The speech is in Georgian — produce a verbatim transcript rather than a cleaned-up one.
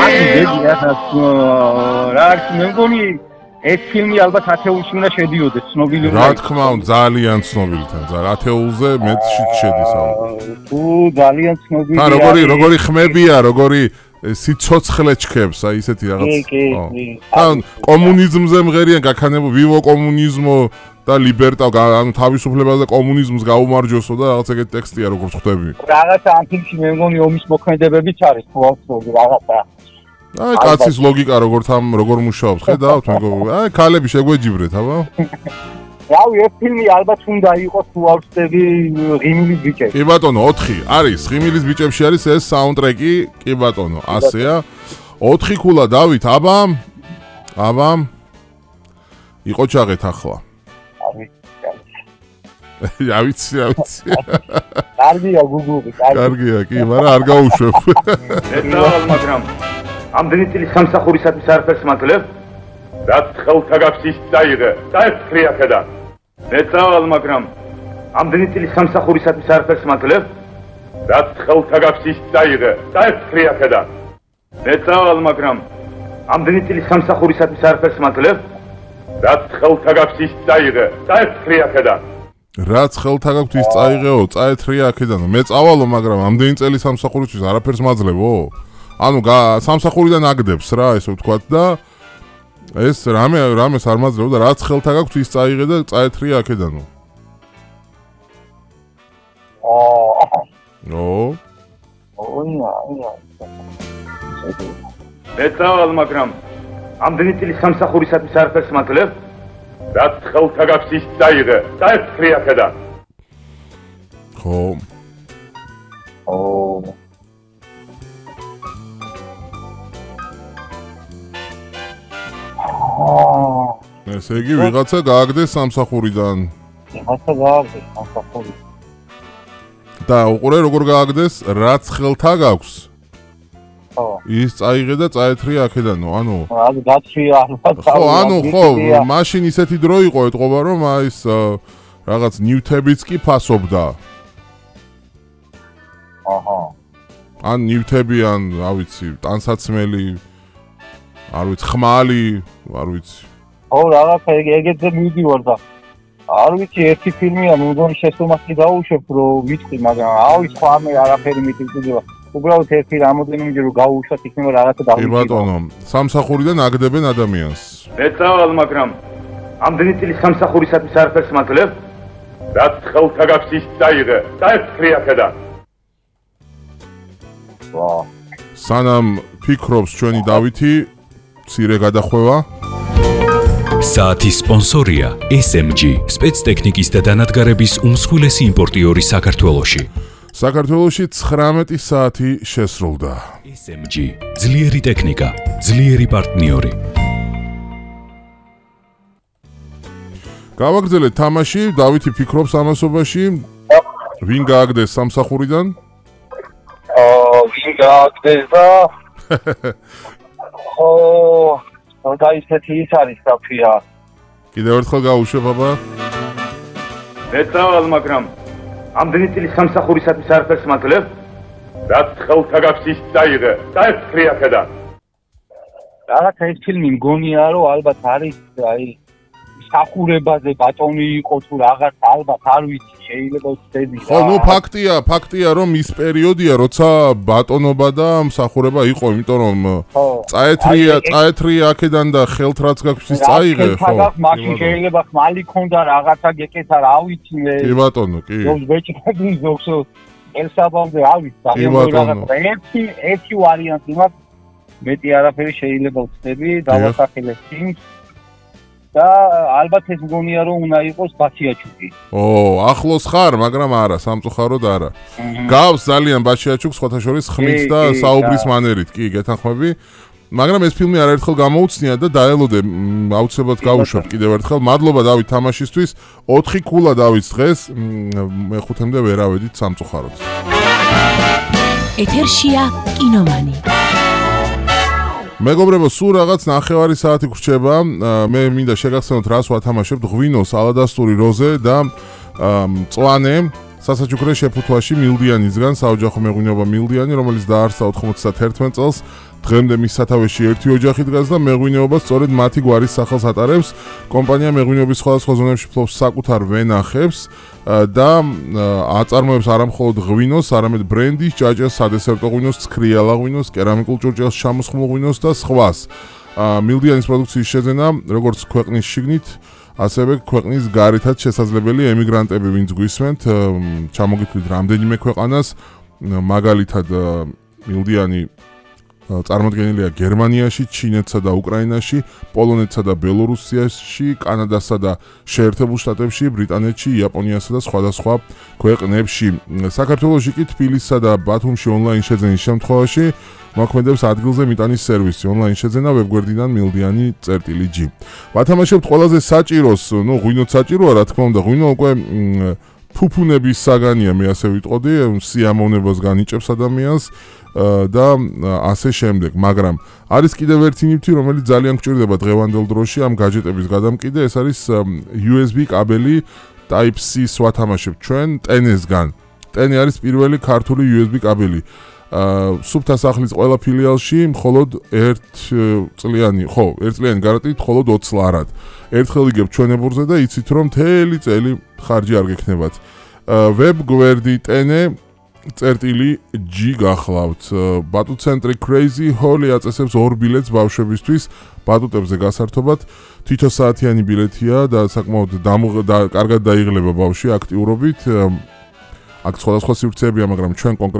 აი დიდი რა მე მგონი ეს ფილმი ალბათ ათეულში უნდა შედიოდეს ცნობილი რა თქმა უნდა ძალიან ცნობილთან ძალიან ათეულზე მეტში შედის ალბათ თუ ძალიან ცნობილია და როგორი როგორი ხმებია როგორი სიცოცხლე ჩქებს აი ისეთი რაღაც და კომუნიზმზე მღერიან გაქანებო ვივო კომუნიზმო და ლიბერტა ანუ თავისუფლებაზე კომუნიზმს გაუმარჯოსო და რაღაც ეგეთი ტექსტია როგორც ხვდები რაღაცა ამ ფილმში მე მგონი ომის მოქმედებებიც არის თუ ავსწორი რაღაცა აი კაცის ლოგიკა როგორ თამ როგორ მუშაობს ხედავთ მეგობრებო აი ქალები შეგვეჯიბრეთ აბა რავი ეს ფილმი ალბათ უნდა იყოს თუ ავსწრები ღიმილის ბიჭები კი ბატონო ოთხი არის ღიმილის ბიჭებში არის ეს საუნდტრეკი კი ბატონო ასეა ოთხი ქულა დავით აბა აბა იყო ჩაღეთ ახლა რა ვიცი რა ვიცი კარგია გუგლი კარგია კი მაგრამ არ გაუშვებ ეცავალ მაგრამ ამდენი წელი სამსახურისათვის არაფერს მაძლევ რაც ხელთა გაქვს ის წაიღე და ეს ფრიაკედა ეცავალ მაგრამ ამდენი წელი სამსახურისათვის არაფერს მაძლევ რაც ხელთა გაქვს ის წაიღე და ეს ფრიაკედა ეცავალ მაგრამ ამდენი წელი სამსახურისათვის არაფერს მაძლევ რაც ხელთა გაქვს ის წაიღე და ეს ფრიაკედა რაც ხელთა გაქვს ის წაიღეო წაეთრია აქედან მე წავალო მაგრამ ამდენი წელი სამსახურისთვის არაფერს მაძლებო ანუ სამსახურიდან აგდებს რა ესე ვთქვათ და ეს რამე რამეს არ მაძლებო და რაც ხელთა გაქვს ის წაიღე და წაეთრია აქედანო ო ოია ოია ეცავალ მაგრამ ამდენი წელი სამსახურისათვის არაფერს მაძლევ რაც ხელთა გაქვს ის წაიღე და ეს ფრიაკედა ხო ო ესე იგი ვიღაცა გააგდეს სამსახურიდან ვიღაცა გააგდეს სამსახურიდან და უყურე როგორ გააგდეს რაც ხელთა გაქვს ის წაიღე და წაეთრია აქედანო ანუ ანუ გაცვია ხო ანუ ხო მაშინ ისეთი დრო იყო ეთყობა რომ აი ეს რაღაც ნიუტებიც კი ფასობდა აჰა ან ნიუტები ან რა ვიცი ტანსაცმელი არ ვიცი ხმალი არ ვიცი ო რაღაცა ეგეთზე მივდივარ და არ ვიცი ერთი ფილმია მე მგონი შესწომასი გაუშვებ რომ ვიტყვი მაგრამ ავი სხვა მე არაფერი მიტკიდება უბრალოდ ერთი რამოდენიმეჯერ რომ გაუშვათ იქნება რაღაცა დავიწყო. კი ბატონო, სამსახურიდან აგდებენ ადამიანს. ეცავალ მაგრამ ამდენი წელი სამსახურისათვის არაფერს მაძლევ, რაც ხელთა გაქვს ის წაიღე და ეს ფრიაკედა. ვა. სანამ ფიქრობს ჩვენი დავითი, მცირე გადახვევა. საათის სპონსორია ეს ემ ჯი, სპეცტექნიკის და დანადგარების უმსხვილესი იმპორტიორი საქართველოში. საქართველოში ცხრამეტი საათი შესრულდა. ეს ემ ჯი, ძლიერი ტექნიკა, ძლიერი პარტნიორი. გავაგრძელეთ თამაში, დავითი ფიქრობს ამასობაში. ვინ გააგდეს სამსახურიდან? აა, ვინ გააგდეს და ო, და ისეთი ის არის საფია. კიდევ ერთხელ გაუშვებ აბა. ეცავალ მაგრამ ამდენი წელი სამსახურისათვის არაფერს მაძლევ, რაც ხელთა გაქვს ის წაიღე და ეს ფრიაკედა. რაღაცა ეს ფილმი მგონია რომ ალბათ არის აი სახურებაზე ბატონი იყო თუ რაღაც ალბათ არ ვიცი შეიძლება ვცდები რა. ხო, ნუ ფაქტია, ფაქტია რომ ის პერიოდია, როცა ბატონობა და მსახურება იყო, იმიტომ რომ წაეთრია, წაეთრია აქედან და ხელთ რაც გაქვს ის წაიღე, ხო. მაშინ შეიძლება ხმალი ქონდა რაღაცა გეკეთა რა ვიცი მე. კი ბატონო, კი. ზოგ ბეჭდები ზოგს ელსაბამზე რა ვიცი, რაღაცა ერთი ერთი ვარიანტი მაქვს. მეტი არაფერი შეიძლება ვცდები, დავასახელებ ფილმს. და ალბათ ეს მგონია რომ უნდა იყოს ბაჩიაჩუკი. ო, ახლოს ხარ, მაგრამ არა, სამწუხაროდ არა. გავს ძალიან ბაჩიაჩუკს, სხვათა შორის ხმით და საუბრის მანერით, კი, გეთანხმები. მაგრამ ეს ფილმი არაერთხელ გამოუცნია და დაელოდე, აუცილებლად გავუშვებ კიდევ ერთხელ. მადლობა დავით თამაშისთვის. ოთხი ქულა დავით დღეს, მეხუთემდე ვერ ავედით სამწუხაროდ. ეთერშია კინომანი. მეგობრებო, სულ რაღაც ნახევარი საათი გრჩება. მე მინდა შეგახსენოთ რას ვათამაშებთ: ღვინოს, ალადასტური როზე და მწვანე სასაჩუქრე შეფუთვაში მილდიანისგან, საოჯახო მეღვინეობა მილდიანი, რომელიც დაარსდა ოთხმოცდათერთმეტ წელს. დღემდე მის სათავეში ერთი ოჯახი დგას და მეღვინეობა სწორედ მათი გვარის სახელს ატარებს. კომპანია მეღვინეობის სხვადასხვა ზონებში ფლობს საკუთარ ვენახებს და აწარმოებს არამხოლოდ ღვინოს, არამედ ბრენდის, ჭაჭას, სადესერტო ღვინოს, ცქრიალა ღვინოს, კერამიკულ ჭურჭელს, ჩამოსხმულ ღვინოს და სხვას. მილდიანის პროდუქციის შეძენა, როგორც ქვეყნის შიგნით, ასევე ქვეყნის გარეთაც შესაძლებელი ემიგრანტები, ვინც გვისმენთ, ჩამოგითვლით რამდენიმე ქვეყანას, მაგალითად მილდიანი წარმოდგენილია გერმანიაში, ჩინეთსა და უკრაინაში, პოლონეთსა და ბელორუსიაში, კანადასა და შეერთებულ შტატებში, ბრიტანეთში, იაპონიასა და სხვადასხვა ქვეყნებში. საქართველოში კი თბილისსა და ბათუმში ონლაინ შეძენის შემთხვევაში მოქმედებს ადგილზე მიტანის სერვისი, ონლაინ შეძენა ვებგვერდიდან მილდიანი წერტილი ჯი. ვათამაშებთ ყველაზე საჭიროს, ნუ ღვინოთ საჭიროა, რა თქმა უნდა, ღვინო უკვე ფუფუნების საგანია, მე ასე ვიტყოდი, სიამოვნებას განიჭებს ადამიანს და ასე შემდეგ, მაგრამ არის კიდევ ერთი ნივთი, რომელიც ძალიან გვჭირდება დღევანდელ დროში ამ გაჯეტების გადამკიდე, ეს არის იუ ეს ბი კაბელი Type-C-ს ვათამაშებთ ჩვენ ტენესგან. ტენე არის პირველი ქართული იუ ეს ბი კაბელი. სუფთა სახლის ყველა ფილიალში მხოლოდ ერთ წლიანი, ხო, ერთ წლიანი გარანტიით მხოლოდ ოცი ლარად. ერთხელ იგებთ ჩვენებურზე და იცით რომ მთელი წელი ხარჯი არ გექნებათ. ვებგვერდი ტენე წერტილი ჯი გახლავთ. ბატუტ-ცენტრი Crazy Holly აწესებს ორ ბილეთს ბავშვებისთვის ბატუტებზე გასართობად. თითო საათიანი ბილეთია და საკმაოდ კარგად დაიღლება ბავშვი აქტიურობით. აქ სხვადასხვა სივრცეებია, მაგრამ ჩვენ კონკრეტულად